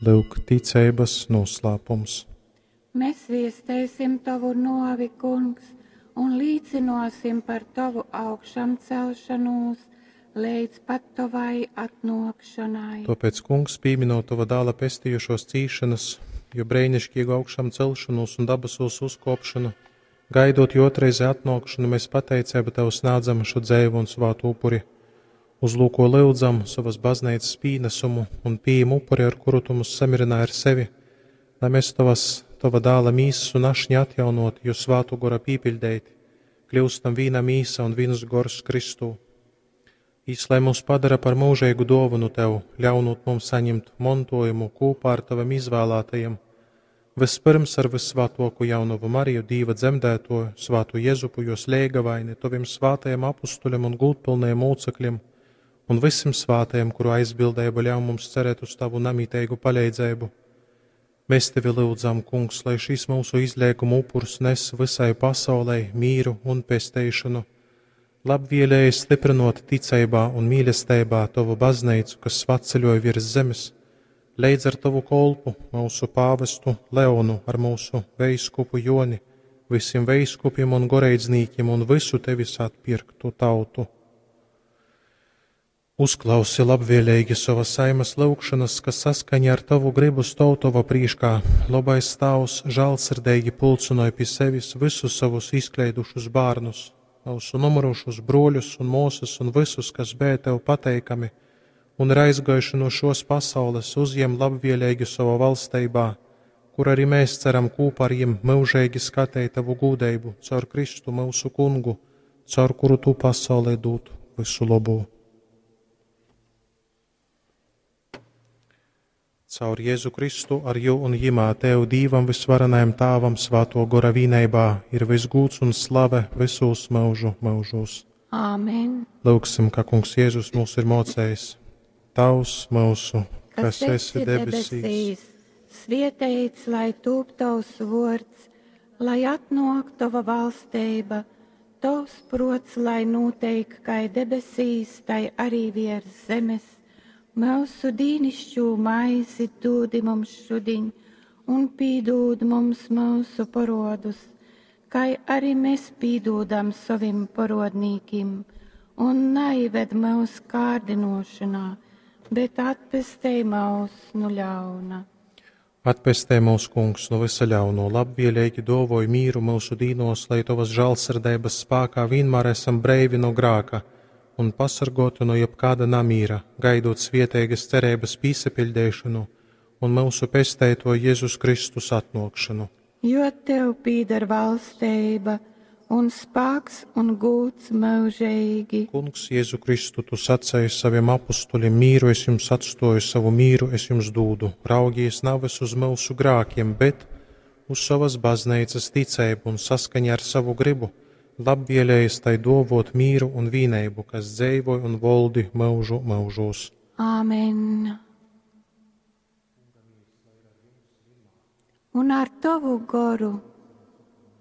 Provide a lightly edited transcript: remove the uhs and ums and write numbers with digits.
Lyuk, ticeibas nūslāpums. Mēs viesteisim Tovu nōvi, Kungs, un līcynōsim par Tovu augšamcelšanūs leidz pat Tovai atnōkšonai. Tōpēc, Kungs, pīminot Tova dāla pestījušōs cīšanas, jo breiniškīgu augšām celšanūs un dabasūs uzkōpšanu, gaidot jō otrreizē atnōkšanu, mēs pateiceibu Tev snādzam šo dzeivu un svātu upuri. Uzlūko lyudzam sovas bazneicas pīnesumu un pījem upuri, ar kuru Tu mūs samierināji ar sevi, lai mēs tovas, Tova dāla mīsas un ašņa atjaunot, jo svātu gora pīpiļdeiti, kļūstam vīna mīsa un viens gors Kristū. Jis, lai mūs padara par mūžīgu dōvanu Tev, ļaunot mums saņemt montojumu kūpā ar Tavim izvēlētajiem, vispirms ar vissvātoku jaunavu Mariju, Dīva dzemdētoju, svātu Jezupu, jos leigavaini, Taviem svātajiem apustuļiem un gūdpilnajiem mūcekļiem, un visiem svātajiem, kuru aizbildība ļauj mums cerēt uz Tavu namiteigu paleidzēbu. Mēs Tevi lūdzam, Kungs, lai šīs mūsu izliekuma upurs nes visai pasaulei mīru un pesteišanu. Labvēlēji stiprinot ticeibā un mīlestībā Tavu baznīcu, kas svatceļoja virs zemes, leidz ar Tavu kolpu, mūsu pāvestu Leonu, ar mūsu veiskupu Joni, visiem veiskupiem un goreidznīkiem un visu Tevis atpirktu tautu. Uzklausi labvēlīgi savas saimas lūgšanas, kas saskaņā ar Tavu gribu stov Tova prīškā. Labais Tavs žālsirdīgi pulcinoja pie sevis visus savus izkleidušus bērnus, mūsu nomurušus broļus un mūsas un visus, kas bija Tev pateikami, un ir aizgājuši no šos pasaules, uzņem labvēlīgi savā valstībā, kur arī mēs ceram kopā ar jiem mūžīgi skatīt Tavu gūdību caur Kristu mūsu kungu, caur kuru Tu pasaulē dod visu labu. Caur Jēzu Kristu ar jū un jimā Tev Dīvam visvarenajam Tāvam svāto gora vīneibā ir visgūts un slave visos mūžu mūžos. Āmen. Lūksim, kā Kungs Jēzus mūs ir mocējis. Tavs mūsu, kas esi debesīs, svietēts, lai tūp tavs vārds, lai atnāk tava valstība, tavs prots, lai notiek kā debesīs, tai arī virs zemes. Mūsu dīnišķū maizi dūdi mums šudiņ, un pīdūd mums mūsu parodus, kā arī mēs pīdūdam savim parodnīkim, un neived mūs kārdinošanā, bet atpestej mūs nu ļauna. Atpestē mūs, Kungs, no visa ļauno, labvēlīgi dovoj mīru mūsu dīnos, lai Tavas žālsirdības spēkā vienmēr esam breivi no grāka un pasargoti no jebkāda namīra, gaidot svietēgas cerības pīsapildēšanu un mūsu pestēto Jēzus Kristus atnākšanu. Jo tev pīdar valstība un spēks un gūts mūžīgi. Kungs, Jēzu Kristu, tu sacēji saviem apustuļiem, mīru es jums atstoju, savu mīru es jums dūdu. Raugies nevis uz mūsu grākiem, bet uz savas baznīcas ticību un saskaņā ar savu gribu, labvēlējies tai dovot mīru un vīneibu, kas dzeivoja un voldi mūžu mūžos. Āmen. Un ar tavu goru.